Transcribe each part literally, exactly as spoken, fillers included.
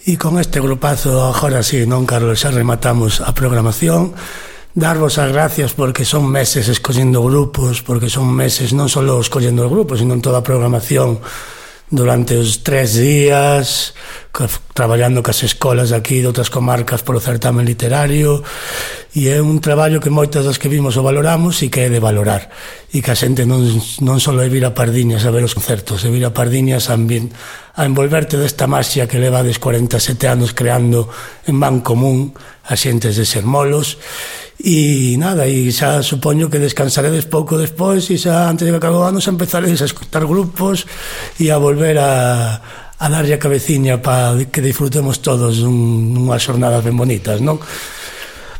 E con este grupazo, agora sí, non, Carlos, xa rematamos a programación. Darvos as gracias porque son meses escollendo grupos, porque son meses non só escollendo os grupos, sino en toda a programación durante os tres días, traballando cas escolas aquí de outras comarcas polo certamen literario, e é un traballo que moitas das que vimos o valoramos e que é de valorar, e que a xente non, non só é vir a Pardiñas a ver os concertos, é vir a Pardiñas a, a envolverte desta maxia que levades cuarenta e sete anos creando en ban común a xentes de Sermolos. E nada, e xa supoño que descansaredes pouco despois e xa antes de que acabe o ano xa empezaredes a escutar grupos e a volver a, a darlle a cabeciña para que disfrutemos todos un, unhas xornadas ben bonitas, non?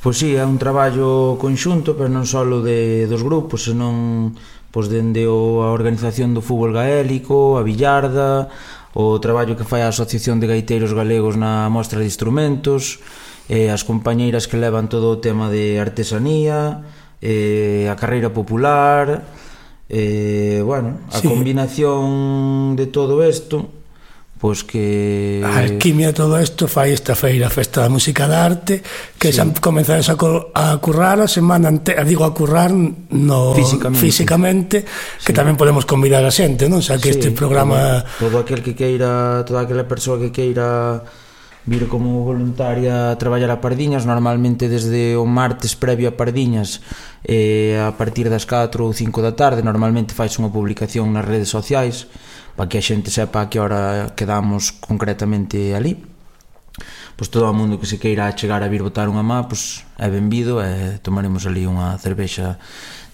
Pois sí, é un traballo conxunto, pero non só de, dos grupos, senón pois dende o, a organización do fútbol gaélico, a billarda, o traballo que fai a Asociación de Gaiteiros Galegos na mostra de instrumentos, eh, as compañeiras que levan todo o tema de artesanía, eh, a carreira popular, eh, bueno, a sí. combinación de todo isto, pois que... A alquimia de todo isto fai esta feira, a Festa da Música da Arte, que sí. xa comenzades a, a currar a semana entera, digo a currar no físicamente, físicamente que sí. tamén podemos convidar a xente, non? O sea, que sí, este programa... Todo, todo aquel que queira, toda aquela persoa que queira vir como voluntaria a traballar a Pardiñas, normalmente desde o martes previo a Pardiñas, eh, a partir das catro ou cinco da tarde, normalmente fais unha publicación nas redes sociais para que a xente sepa a que hora quedamos concretamente ali. Pois todo o mundo que se queira chegar a vir botar unha má, pois é benvido e tomaremos ali unha cervexa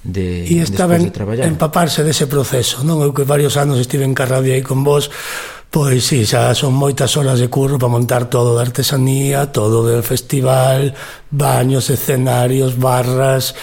de, e está ben de traballar. Empaparse dese proceso, non? Eu que varios anos estive en Carradia aí con vos. Pois sí, xa son moitas horas de curro para montar todo de artesanía, todo del festival, baños, escenarios, barras.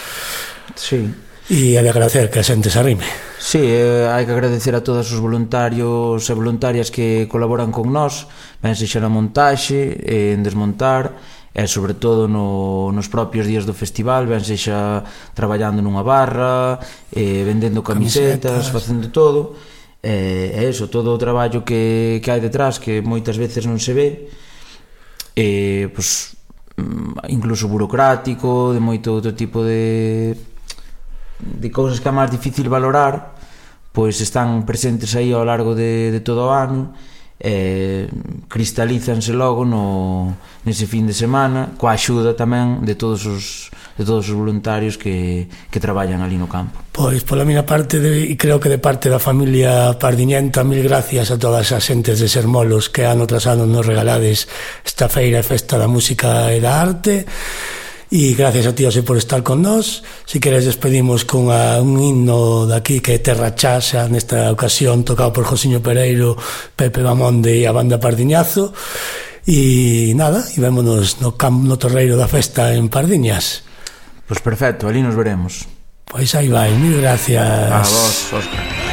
Sí. E hai de agradecer que a xente se arrime. Sí, eh, hai que agradecer a todos os voluntarios e voluntarias que colaboran con nós, ben sexa na montaxe, eh, en desmontar, e sobre todo no, nos propios días do festival, ben sexa traballando nunha barra, eh, vendendo camisetas, camisetas, facendo todo. É eh, eso, todo o traballo que, que hai detrás, que moitas veces non se ve, eh, pues, incluso burocrático, de moito outro tipo de de cousas que é máis difícil valorar, pois están presentes aí ao largo de, de todo o ano, eh, cristalízanse logo no, nese fin de semana, coa axuda tamén de todos os de todos os voluntarios que, que traballan ali no campo. Pois, pola miña parte, de, e creo que de parte da familia pardiñenta, mil gracias a todas as xentes de Sermolos que ano tras ano nos regalades esta feira e Festa da Música e da Arte. E gracias a ti, José, por estar con nós. Si queres despedimos con a, un himno daqui que é Terra Chaxa, nesta ocasión tocado por Josiño Pereiro, Pepe Bamonde e a banda Pardiñazo. E nada, e vémonos no, no torreiro da festa en Pardiñas. Pois perfecto, ali nos veremos. Pois aí vai, mil gracias. A vos, Óscar.